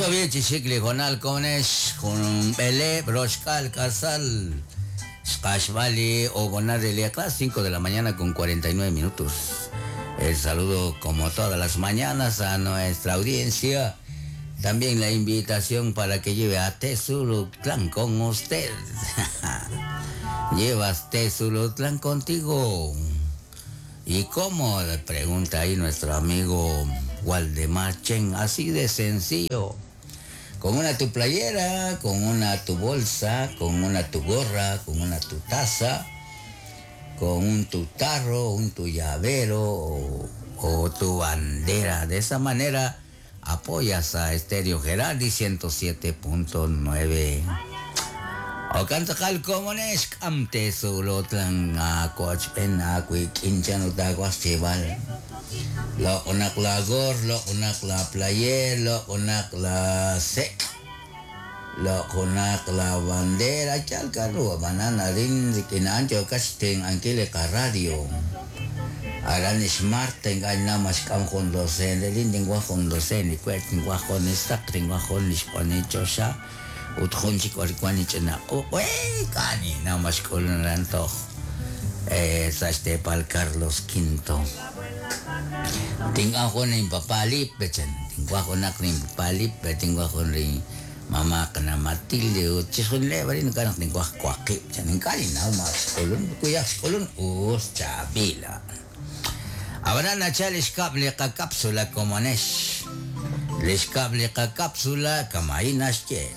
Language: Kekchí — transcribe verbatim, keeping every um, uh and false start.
Chixikli jonal konex jun bele broxkal kasal xkashbali o de las cinco de la mañana con cuarenta y nueve minutos. El saludo como todas las mañanas a nuestra audiencia. También la invitación para que lleve a Tezulutlán con usted. Llevas Tezulutlán contigo. ¿Y cómo? Le pregunta ahí nuestro amigo Waldemar Chen. Así de sencillo. Con una tu playera, con una tu bolsa, con una tu gorra, con una tu taza, con un tu tarro, un tu llavero o, o tu bandera. De esa manera apoyas a Estéreo Gerardi ciento siete punto nueve. O cantakal comunes, amte zulotlan acuachpen acuiquinchan utaguastival. Lo unak la gor, lo unak la player, lo unak la sec, lo unak la bandera, chalcaru, banana rin, rikinancho, casten, anquile radio. Aranis Marten, ay namas kam jondocen, de lin guajondocen, y cuertin guajonestak, ringuajonis ponichosa, utjunchik orikuanichena, uy, cani, namas colonanto, eh, sastepal Carlos Quinto. Tingajo ni papá lipe, tingajo nak ni papá lipe, tingajo ni mamá kana Matilde, uchishun le, bari nakanak tingajo kwaki, chan, kani na mas kolon, kuya kolon, us chabila. Ahora nachal iskable ka cápsula como nesh. Lishkable ka cápsula kamainash che.